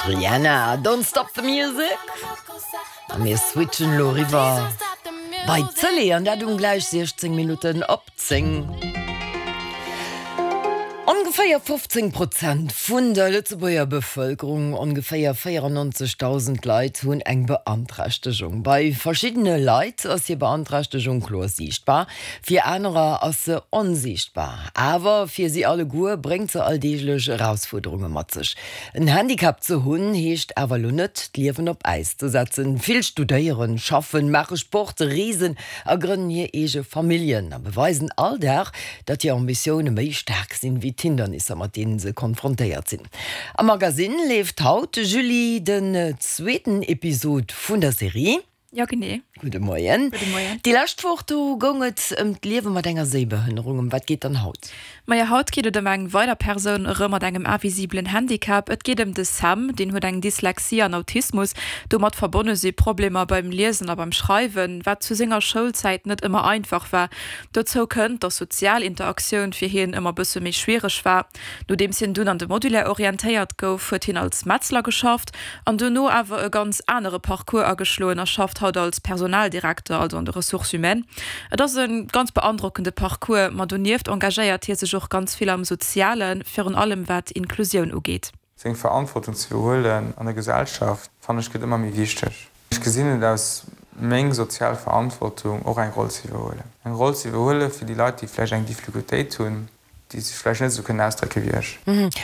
Rihanna, Don't Stop the Music. A mir switchen elo eriwwer bei d'Tëlee an dat um gläich 16 Minutten op 10. Ongeféier 15 Prozent vun der Lëtzebuerger Bevëlkerung, ongeféier 94.000 Leit, hunn eng Beanträchtegung. Bei verschiddene Leit ass hir Beanträchtegung kloer siichtbar, fir anerer ass se onsiichtbar. Awer fir si alleguer bréngt se alldeeglech Erausfuerderunge mat sech. En Handicap ze hunn, heescht awer elo net, d'Liewen op Äis ze setzen. Vill studéieren, schaffen, maache Sport, reesen a grënnen hir eege Familljen a beweisen all Dag, datt hir Ambitioune méi staark sinn, wéi d'Hindernisser, mat deenen se konfrontéiert sinn. Am Magasinn leeft haut, Julie, den zweeten Episod vun der Serie. Jo, genee. Gudde Moien. Gudde Moien. Déi lescht Woch, do goung et ëm d'Liewe mat enger Séibehënnerung. Ëm wat geet dann haut? Majo, haut geet et ëm eng weider Persoun, erëm mat engem invisibelen Handicap. Et geet ëm de Sam, deen huet eng Dyslexie an Autismus. Domat verbonne si Problemer beim Liesen a beim Schreiwen, wat zu senger Schoulzäit net ëmmer einfach war. Dozou kënnt, dass sozial Interaktioun fir hien ëmmer bësse méi schwiereg war. Nodeems hien dunn an de Modulaire orientéiert gouf, huet hien als Metzler geschafft an duerno awer e ganz anere Parcours ageschloen a schafft haut als Personaldirekter, also an de Ressources humaines. Et ass e ganz beandrockende Parcours, ma donieft engagéiert hie sech och ganz vill am Sozialen, virun allem wat Inklusioun ugeet. Seng Verantwortung ze iwwerhuelen an der Gesellschaft, fannen ech, gëtt ëmmer méi wichteg. Ech gesinn et als meng sozial Verantwortung, och eng Roll ze iwwerhuelen. Eng Roll ze iwwerhuele fir déi Leit, déi vläicht eng Difficultéit hunn, déi sech vläicht net esou kënnen ausdrécke wéi ech.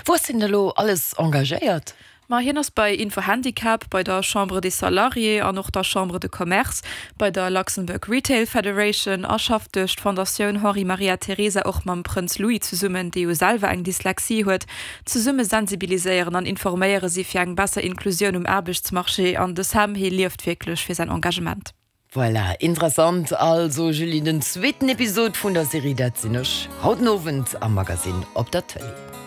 Wou ass hien elo alles engagéiert? Ma hien ass bei Info-Handicap, bei der Chambre des Salariés an och der Chambre de Commerce, bei der Luxembourg Retail Federation a schafft duerch d'Fondatioun Henri Maria Teresa och mam Prënz Louis zesummen, dee jo selwer eng Dyslexie huet. Zesumme sensibiliséieren an informéiere si fir eng besser Inklusioun um Aarbechtsmarché an de Sam, hie lieft wierklech fir säin Engagement. Voilà, interessant also Julie, den zweeten Episod vun der Serie Dat sinn ech, haut den Owend am Magasinn op der Tëlee.